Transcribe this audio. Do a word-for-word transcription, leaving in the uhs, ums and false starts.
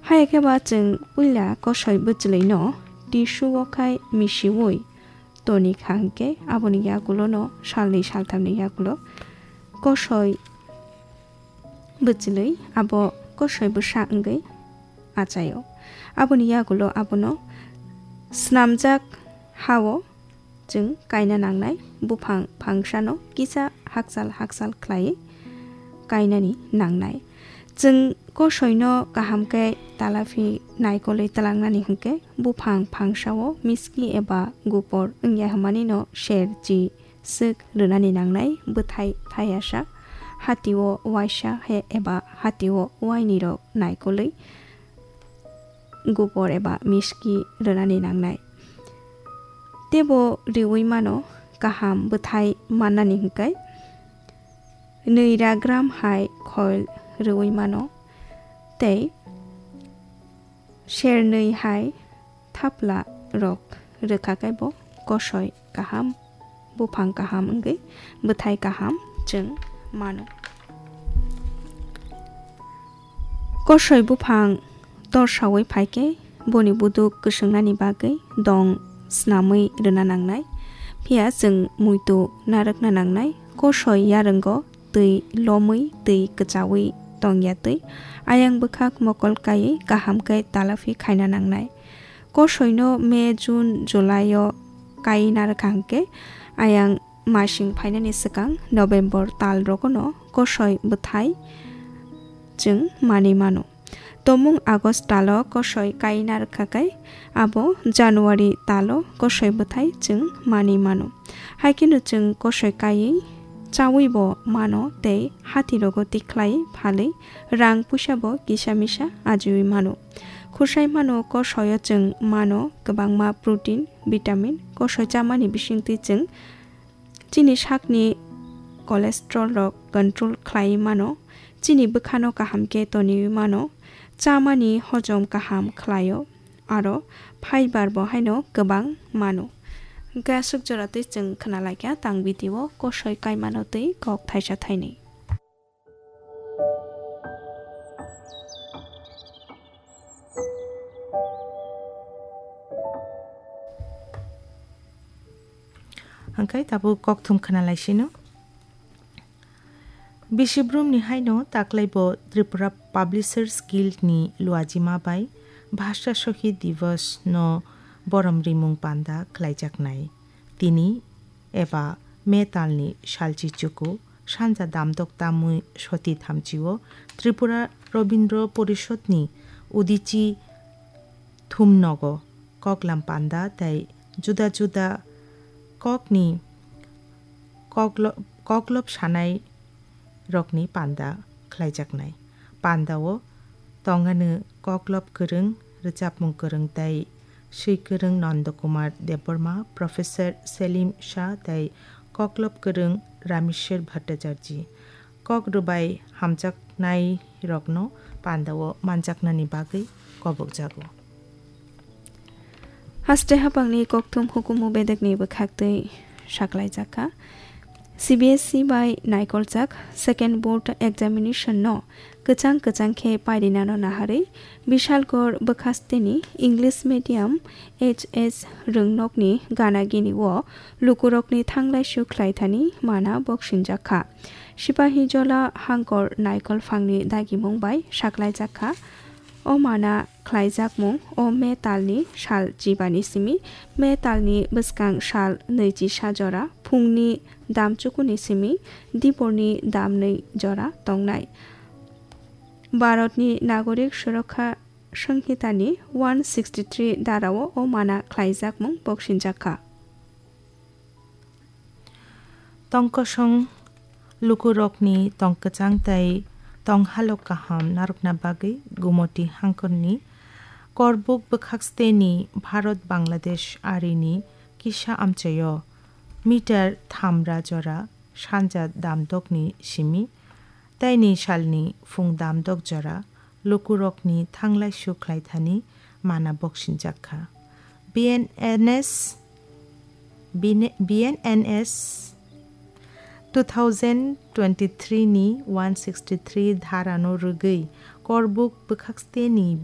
Haya khe ba chwng puila kosoi bwchwlwino tissue o khai misiui toni kha hwnkhe aboni yagulo no salnwi salthamni yagulo kosoi bwchwlwi abo kosoi bwsa wngwi achaio. Aboni yagulo abono snamjak hao chwng kaina nangnai, buphang phangsano kisa hakchal hakchal khlaiwi kainani nangnai. Chwng kosoino kaham khe talaphi naikolwi twlangnani hwnkhe buphang phangsao miski eba gupor wngya hwnmanino ser chi swk rwnani nangnai, bwthai thaiyasak, hatio waisa he eba hatio wainirok naikolwi gubor eba miski rwnani nangnai. Teibo riui mano kaham bwthai mannani hwnkhe nwi ra gram hai khoil riui mano tei sernwi hai thapla rok rwkha khe bo kosoi kaham, buphang kaham wngwi bwthai kaham chwng mano. Kosoi buphang torsaui phai khe boni buduk kwswngnani bagwi dong snamwi rwna nangnai, phiya chwng muitu narwkna nangnai. Kosoi yarwngo twi lomwi twi kwchaui tongya twi ayang bwkhak mokol kaiwi kaham khe talaphi khaina nangnai. Kosoino May, June, July o kai narwkha hwnkhe ayang masing phainani swkang November tal rogono kosoi bwthai chwng manwi mano. Tomung August talo kosoi kai narwkha khe abo January talo kosoi bwthai chwng manwi mano. Haikheno chwng kosoi kaiwi chaui bo mano tei hati rogo tikhlai phalwi rang puisa bo kisa misa ajiui mano. Khursaimano kosoio chwng mano kwbangma protein, vitamin. Kosoi chamani bisingtwi chwng chini sakni cholesterol rok control khlaiwi mano, chini bwkhano kaham khe toniwi mano, chamani hojom kaham khlaio, aro fiber bo haino kwbang mano. Hwnkhe aswk jora twi chwng khna laikha tang video kosoi kaimano twi kok thaisa thainwi. Hwnkhe tabuk kokthum khna lai sino. Bisi brumni haino taklaibo Tripura Publishers Guild ni luajima bai Bhasha Shahid Divas no borom rimung panda khlaijaknai. Tini eba May talni salchi chuku sanja damdok tamwi soti thamchio Tripura Robindra Porishod ni udichi thumnogo koklam panda tei juda juda kokni koklo-, koklop sanai rokni panda khlaijaknai. Pandao tongani koklop kwrwng, rwchapmung kwrwng tei swi kwrwng Nanda Kumar Debbarma, Professor Selim Shah tei koklop kwrwng Rameshwar Bhattacharjee. Kok rwbai hamjaknai rokno pandao manjaknani bagwi kobokjago. Haste hapangni kokthum hukumu bedekni bwkhaktwi saklaijakha. C B S E bai naikoljak second board examination no kwchang kwchang khe pairinano naharwi Bishalgarh bwkhasteni English medium H S rwngnokni gana gini o lukurokni thanglaisu khlaithani mana boksinjakha. Sipahijola hangkor naikol phangni dagimung bai saklaijakha. O mana khlaijakmung o May talni sal chibani simi, May talni bwskang sal nwichi sa jora phungni dam chukuni simi diporni dam nwi jora tongnai. Bharatni Nagorik Surakha Sanghitani one sixty three darao o mana khlaijakmung boksinjakha. Tongkosong lukurokni tongkwchang tei tonghalok kaham narwkna bagwi Gumoti hangkorni Korbuk bwkhaksteni Bharat Bangladesh arini kisa amchaio meter thamra jora sanja damdokni simi, tei ni salni phung damdok jora lukurokni thanglaisu khlaithani mana boksinjakha. B N N S, B N, B N N S two thousand twenty-three ni one sixty three dharano rwgwi Korbuk bwkhaksteni